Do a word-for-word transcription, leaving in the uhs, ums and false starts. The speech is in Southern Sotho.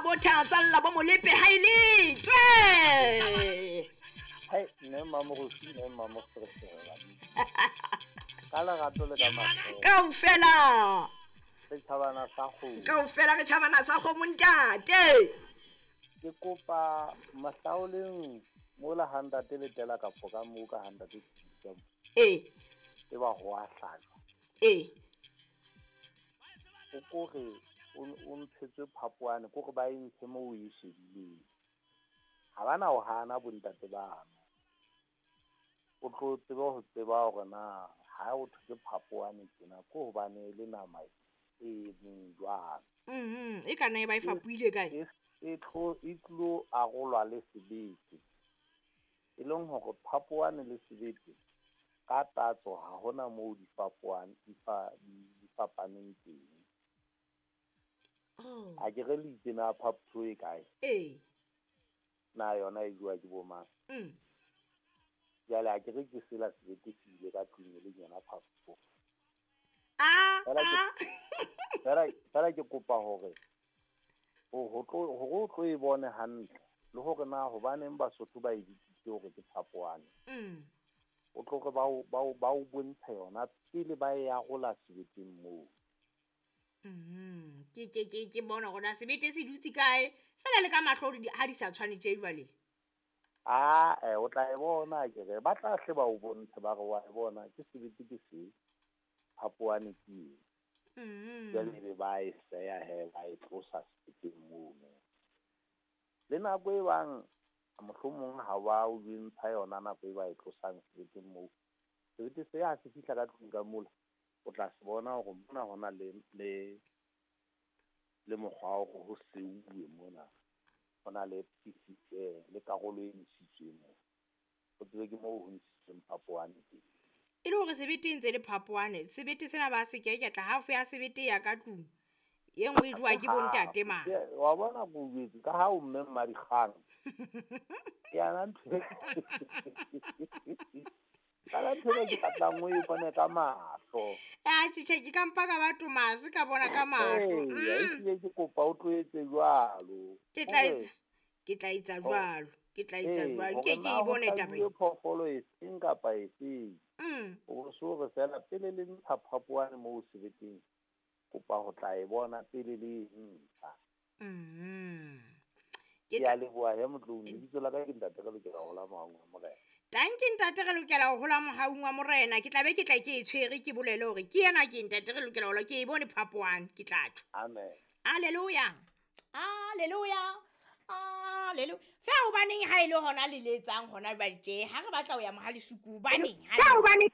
Mabotha tsalla bo Molepe ha ile tlwe. Hai ne mamorusi ne mamorusi. Ka lerato le ka mahlo. Kaofela. Re tjhabana sa kgomo. Kaofela re tjhabana sa kgomo ntate. Ke kopa mahlaoleng mola ha ntate le tela kapo ka moo ka ha ntate tsa. Eh. E ba ho a hlajwa. Eh. O kore o ntshetswe phapoane kore ba e ntshe moo o e shebileng. Ha bana ho hana bontate bano. O tlo tsebe ho tseba hore na ha o thwe ke phapoane tjena ko hobane le nama e meng jwang. Mhm, e kana e ba e fapuile kae? E tlo e tlo arolwa le sebete. E leng hore phapoane le sebete ka tatso ha hona moo di fapoane di fa di fapaneng teng. Oh. A ke re le itse na phapho e kae? Eh. Na yona e jwa ke bo mang? Mm. Jwale a ke re ke sela sebete se ile ka tlung e leng yona phapho. Ah. Fela fela ke kopa hore o ho tlo hore o tlo e bone hantle le hore na hobaneng Basotho ba e bitsitse hore ke phapoane. Mm. O tlo re ba o ba o ba o bontshe yona pele ba e arola sebeteng moo. Mm. Ke ke ke ke bona hore na sebete se dutse kae fela le ka mahlo ha di sa tshwane tje jwale. Ah, eh o tla e bona ke re ba tla hle ba o bontshe ba re wa e bona ke sebete ke se phapoane ke eng. Mm. Jwale be ba e seya he ba e tlosa sebeteng mono. Le nako e bang mohlomong ha ba o ntsha yona nako e ba e tlosang sebeteng moo. Sebete se ha se fihla ka tlung ka mola o tla se bona hore mona hona le le le mokgwa wa hore ho seuwe mona. Hona le P C le karolo e ntshitsweng moo. O tsebe ke moo ho ntshitsweng phapoane teng. E le hore sebete e ntse le phapoane, sebete sena ba se keketla half ya sebete ya ka tlung. E nngwe e jowa ke bontate mane. Wa bona ko jwetse ka ha o mme Mmadikgang. Ke yana ntho. Ka ntho e ke batlang o e bone ka mahlo. Ah, tjhe ke ka mpa ka ba Tomase ka bona ka mahlo. Ee, ke kopa o tlo etse jwalo. Ke tla etsa. Ke tla etsa jwalo. Ke tla etsa jwalo. Ke ke e bone taba e. Phoofolo e seng kapa e seng. Mm. O so re fela pele le ntsha phapoane moo sebeteng. Kopa ho tla e bona pele le ntsha. Mm. Ke a leboha he motlong, lebitso la ka ke ntate re lokela ho hola mohaung wa Morena. Tanki ntate re lokela ho hola mohaung wa Morena. Ke tla be ke tla ke e tshwere ke bolele hore ke yena ke ntate re lokela ho hola ke e bone phapoane ke tla tjho. Amen. Hallelujah. Hallelujah. Hallelujah. Fa hobaneng ha ile hona le letsang hona jwale tje ha re batla ho ya mohalesuku hobaneng ha hobaneng